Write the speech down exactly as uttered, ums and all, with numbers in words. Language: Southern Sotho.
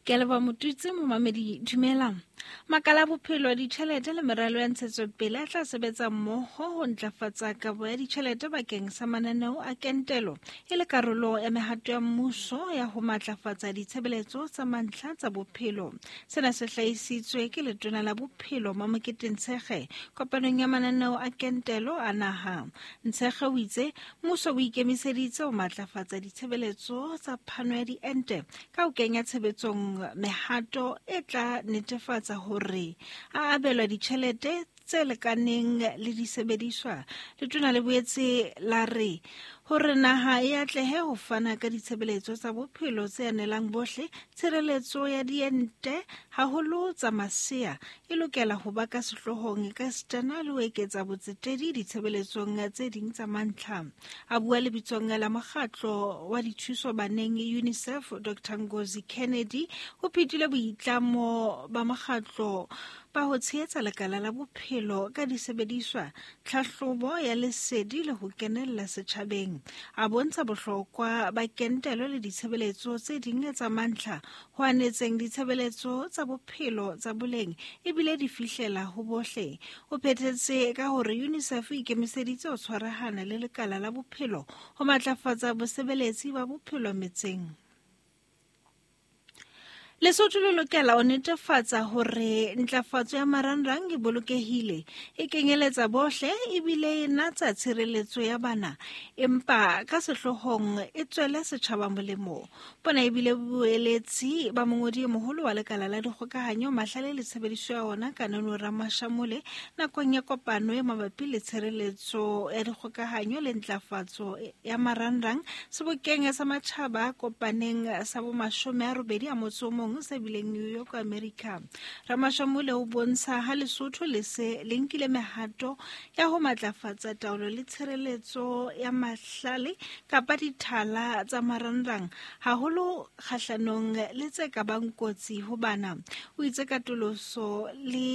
Ke a leboha Motutsi momamedi dumelang. Makala a bophelo, ditjhelete le meralo ya ntshetsopele a tla sebetsa mmoho ho ntlafatsa kabo ya ditjhelete bakeng sa mananeo a kentelo e le karolo ya mehato ya mmuso ya ho matlafatsa ditshebeletso tsa mantlha tsa bophelo. Sena se hlahisitswe ke Letona la Bophelo Mamokete Ntshekge kopanong ya mananeo a kentelo a naha. Ntshekge o itse mmuso o ikemiseditse ho matlafatsa ditshebeletso tsa phano ya diente ka ho kenya tshebetsong mehato e tla netefatsa hore a abelwa ditjhelete tse lekaneng le disebediswa. Letona le boetse la re hore naha e atlehe ho fana ka ditshebeletso tsa bophelo tse anelang bohle, tshireletso ya diente haholo tsa masea e lokela ho ba ka sehloohong ekasitana le ho eketsa botsetedi ditshebeletsong tse ding tsa mantlha. A bua lebitsong la mokgatlo wa dithuso baneng UNICEF, Doctor Ngozi Kennedy o phethile boitlamo ba mokgatlo ba ho tshehetsa lekala la bophelo ka disebediswa, tlhahlobo ya lesedi le ho kenella setjhabeng. A bontsha bohlokwa ba kentelo le ditshebeletso tse ding tsa mantlha ho anetseng ditshebeletso tsa bophelo tsa boleng ebile di fihlela ho bohle. O phethetse ka hore UNICEF e ikemiseditse ho tshwarahana le lekala la bophelo ho matlafatsa bosebeletsi ba bophelo metseng. Lesotho le lokela ho netefatsa hore ntlafatso ya marangrang e bolokehile, e kenyeletsa bohle ebile e natsa tshireletso ya bana, empa ka sehloohong e tswele setjhaba molemo. Bona ebile boeletsi ba mongodi e moholo wa lekala la dikgokahanyo mahlale le tshebediso ya ona Kanono Ramashamole nakong ya kopano e mabapi le tshireletso ya dikgokahanyo le ntlafatso ya marangrang sebokeng sa matjhaba a kopaneng sa bomashome a robedi a motso o mong se bileng New York, America. Ramashamole o bontsha ha Lesotho le se le nkile mehato ya ho matlafatsa taolo le tshireletso ya mahlale kapa dithala tsa marangrang haholo kgahlanong le tse ka bang kotsi ho bana. O itse katoloso le